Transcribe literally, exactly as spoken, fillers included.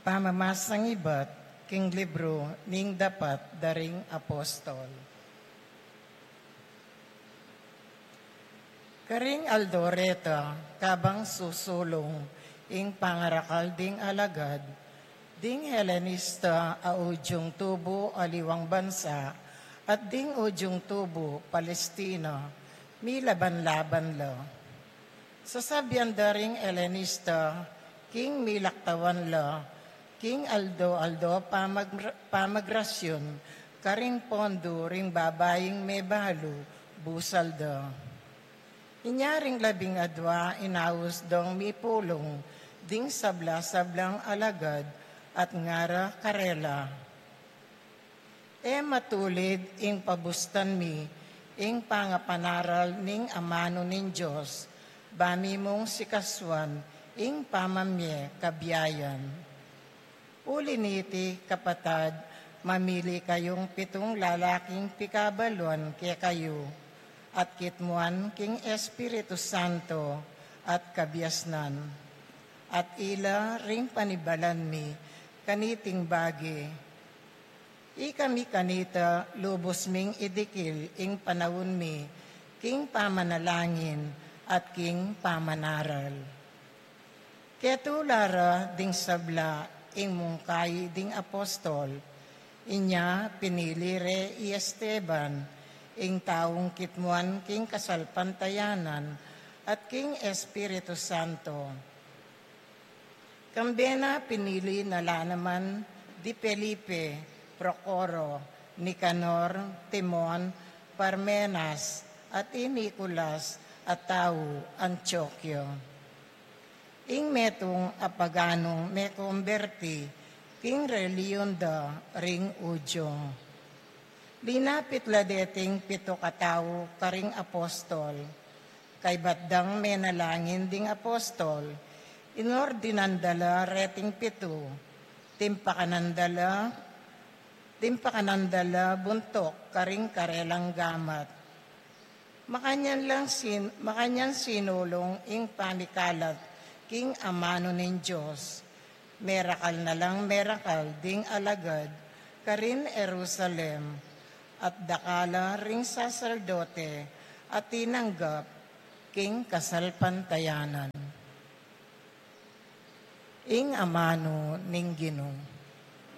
Pamamasang ibat king libru ning dapat da ring apostol. Karing aldo reta, kabang susulung ing pangarakal ding alagad, ding Helenista a udyung tubu aliwang bansa, at ding udyung tubu Palestina, milaban-laban la. Sasabian da ring Helenista, king milaktawan la, king aldo-aldo pamag-, pamagrasyun, karing pondu ring babaing mebalu, busal da. Inya ring labing adwa inaus dong mipulung, ding sabla-sablang alagad, at ngara karela, E matulid ing pabustan mi ing pangapanaral ning amanu ning Dios, ba mi mung sikasuan ing pamamie kabiayan. Uli niti, kapatad, mamili kayung pitung lalaking pikabaluan kekayu, at kitmuan king Espiritu Santo at kabiasnan. At ila ring panibalan mi kaniting bage. Ikami kanita lubus ming idikil ing panaun mi king pamanalangin at king pamanaral. Ketula ra ding sabla ing mungkai ding apostol, inya pinili re i Esteban, ing taung kitmuan king kasalpantayanan at king Espiritu Santo. Kambe na pinili na la naman di Felipe, Procoro, Nicanor, Timon, Parmenas, at i Nicolas a tau Antioquio. Ing metung a paganung mekomberti king relihion da ring Udyo. Linapit la deting pitu katau karing apostol. Kaybat dang menalangin ding apostol, inordinan da la reting pitu, timpakanan da la, timpakanan da la buntuk karing karelang gamat. Makanyan lang sin-, makanyan sinulung ing pamikalat king amanu ning Dios. Merakal na lang merakal ding alagad karin Jerusalem, at dakal la ring saserdote a tinanggap king kasalpantayanan. Ing amanu ning Ginu.